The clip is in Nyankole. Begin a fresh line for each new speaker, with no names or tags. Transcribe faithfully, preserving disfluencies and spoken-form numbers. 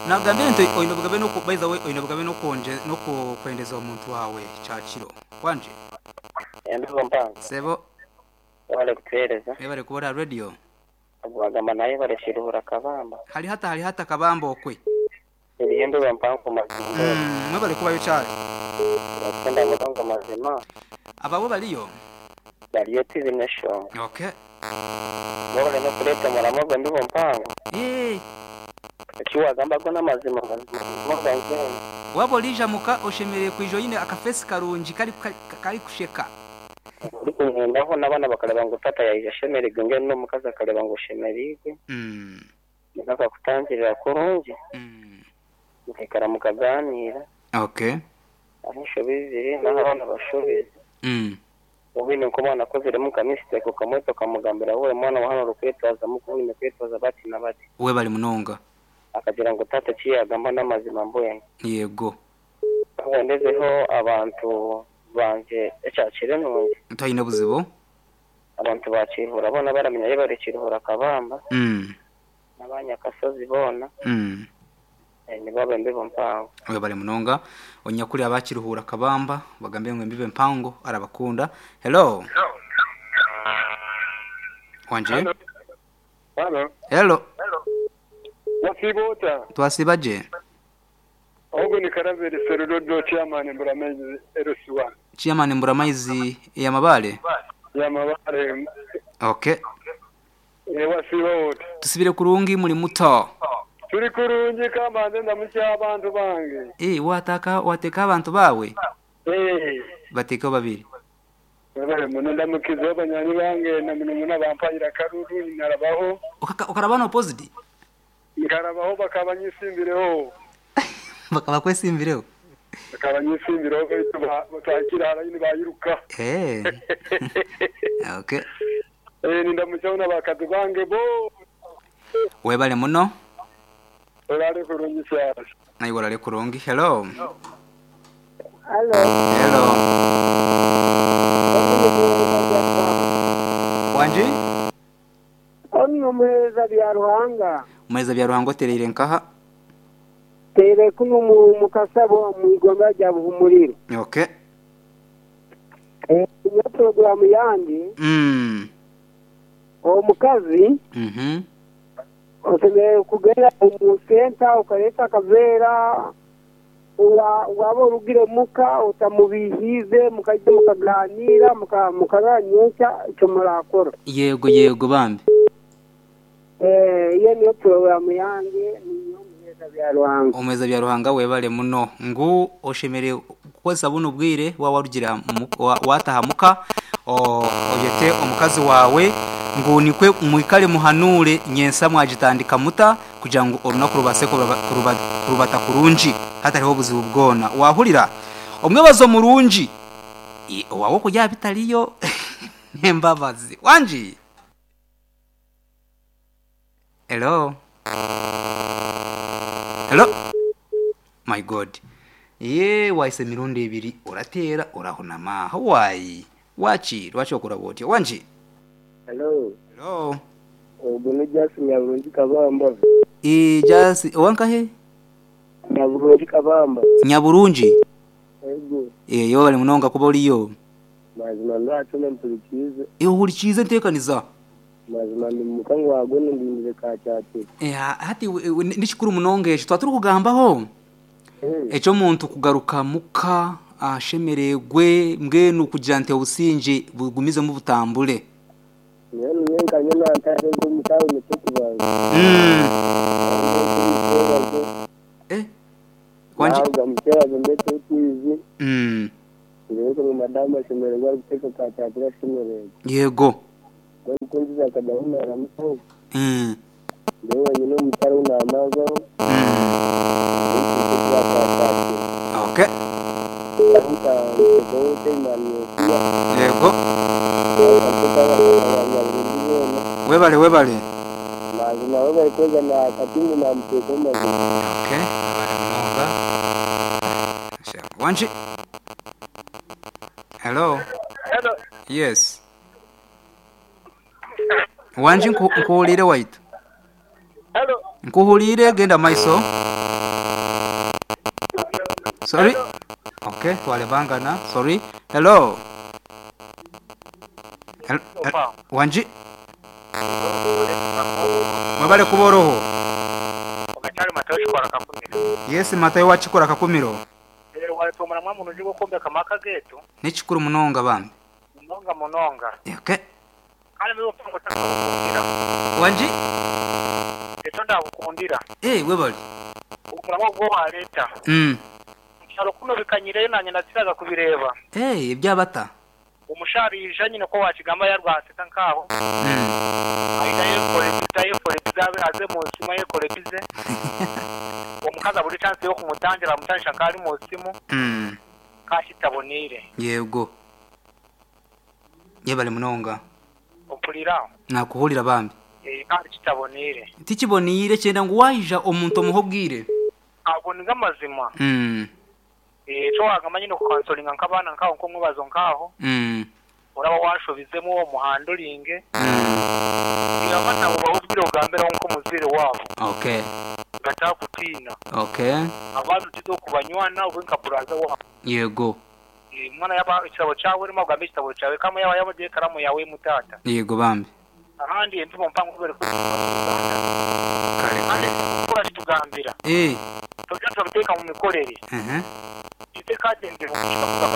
Nagambire nti oine obugabe n'oku by the way oine obugabe n'okwonge n'okwendeza omuntu waawe kyakiro. Wangi?
Embibo mpango.
Sebo.
Webale kutuheereza.
Webale kuba ori aha radio.
Ogwagamba naye yebale Kiruhura Kabamba.
Hari hata hari hata Kabamba okwe.
Eriyo embibo mpango mazima.
Mm, mwebale kubayo kyari.
Turakukunda munonga mazima.
Abawe bariyo?
Bariyo tibine eshonga.
Okay.
Webale n'okureeta omuramo gw'embibo mpango.
Eh.
Eki wagamba go n'amazima mazima mazima gange.
Waba orija muka oshemereire kwija oine akafesi karungi kari kari kusheka.
Orikumwendaho n'abaana bakareba ngu tata yaija ashemereirwe mbwenu n'omukazi akareba ngu oshemereirwe.
Mm.
Niko akakutangirira kurungi.
Mm.
Mukaikara mukaganiira.
Okay.
Aho enshobi ziri n'aho abaana bashobize.
Mm.
Obwine nk'omwana akoziremu nka mistake okamweta okamugambira wowe mwana wa hano orikwetwazamu kuba oine kwetwaza bati na bati.
Webale munonga.
Akagira ngu tata eki yagamba n'amazima mbwenu.
Yego.
Ndezeho abantu bangye ekyakire nungi.
Tayine buzibu.
Abantu bakiruhura boona baramenya yebare Kiruhura Kabamba.
Mm.
N'abanyakasozi boona.
Mm.
Nibo embibo mpango.
Webale munonga. Onyakuri abakiruhura Kabamba bagambe ngu embibo empango arabakunda. Hello. Wanje?
Hello. Hello.
Hello.
Wasibota.
Twasibaje.
Ogo ni Karaveri Serudodo chairman Mburamaizi L C one.
Chairman Mburamaizi ya Mabale?
Ya Mabale.
Okay.
E wasibota.
Tusibire kurungi muri muto.
Turi kurungi kambanze ndamukya abantu bange.
Eh wataka wateka abantu bawe?
Eh.
Bateka babiri.
Babare muno ndamukiza abanyani bange na muno muno bampayira karuru narabaho.
Ukarabana opposite?
Nkarabaho bakabanyisimbireho.
Bakaba kwesimbireho.
Bakabanyisimbireho baitu batakira harayini bayiruka.
Eh. Okay.
Eh nindamucyaho nabakazi bange bo.
Webale muno.
Orale kurungi cyane.
Nayo orale kurungi. Hello.
Hello.
Hello. Wanji?
Ono muheza bya Ruhanga.
Muheza bya Ruhanga otereire nkaha?
Tere kuno mu mukasabo mu igomba rya Buhumuriro.
Okay.
Eh iyo program yange.
Mm.
Omukazi.
Mhm.
Osemere kugenda mu senta ukaleta akavera waba orugire muka utamubihize mukajya mukaganira mukaranyesha icyo murakora.
Yego yego bambi.
Eh iyo niyo program yange niyo muheza bya Ruhanga.
Umuheza bya Ruhanga webale muno ngu oshemere kukozesa buno bwire wawarugira wataha muka oyete omukazi wawe ngu nikwe mwikale muhanure nyensa mwagitandika muta kugira ngo orunaku rubase kurubata kurungi hatariho obuzibu bwona. Wahurira omwebazo murungi owawe kujya bitariyo nembabazi. Wanji? Hello. Hello. My God. Ye waise mirundi ebiri oratera orahunama. Hawaii. Wachi lwachi okora botya. Wanji?
Hello.
Hello.
Ogo ni Jasi Nyaburungi Kabamba.
Eh Jasi owanka he?
Nyaburungi Kabamba.
Nyaburungi?
Ego.
Eh yo bali munonga kuba oliyo.
Mazima ndatume mpurikize.
Eh uhurikize ntekaniza.
Mazima ndi mukango wagwe ndindire ka cyate.
Eh hati ndikikuru munonga echo twaturi kugambaho. Echo muntu kugaruka muka ashemeregwe mbwenu kugira nte obusinge bugumize mu butambule.
Niyo nyenkanye nantare ngo mutawe mutukubanza.
Mm. Eh Wanji
mutera ndetse twizi.
Mm.
Rero mu madamu ashemererwa guteka ka cyate ashemererwa.
Yego.
Kunziza akajya humera muto.
Mm.
Ndewe nyine mutari unamazo.
Mm. Okay. Yego. Webale webale.
Mazima webale kweza na katingu na mteko mazima.
Okay. Webale munonga. Wanji. Hello.
Hello.
Yes. Wanji nkuhulire waitu.
Hello.
Nkuhulire genda maiso. Sorry. Okay, twalebangana. Sorry. Hello. Hel- hel- Wanji. Mwebale kuboroho.
Ogakyali Matayo kikora kakumiro.
Yes, Matayo wachikora kakumiro.
Rero watumura mwa muntu uje gukombeka amaka getu
N'ekikuru munonga bambi.
munonga munonga.
Okay.
Kandi muri upango takakukundira.
Wanji.
Eto ndakukundira.
Eh, webale.
Omuramo gwo waleta.
Mm.
Mukyalo kuno bikanyireyo nanye naziraga kubireba.
Eh, ebyabata.
Omushari yija nyine ko wakigamba yarwaseka nkaho.
Mm.
Aida yekore biza yekore biza aze mu nsima yekore bize. Omukazi abura chance yo kumutangira amutanisha nkari mu simu
Mm.
kashitabonire.
Yego. Yebale munonga.
Ompulira.
Nakuhulira bambi.
Eh, kandi kitabonire.
Tikiboniire kyenda ngu waija omuntu omuhe obwire.
Ago ni gamazima.
Mm.
Eh, cyo wagamba nyine kukansolinga nk'abaana nkaho nk'omwebazo nkaho.
Mm.
Uraba washobizemo uwo muhandoringe.
Mm.
Iraba nabo bahubwire ugambiraho nk'umuzire wabo.
Okay.
Batakutina.
Okay.
Abantu tizo kubanywana ube nka buraza wabo.
Yego.
Eh, Umwana yaba ikitabo cyawe urimo ugambe ikitabo cyawe kama yaba yabagiye karamu yawe mutata.
Yego bambi.
Ahandi empimo mpango kubera ko
Kare kare.
kura kitugambira.
Eh.
Tujya turabiteka mu mikorere.
Mhm.
Iteka tendera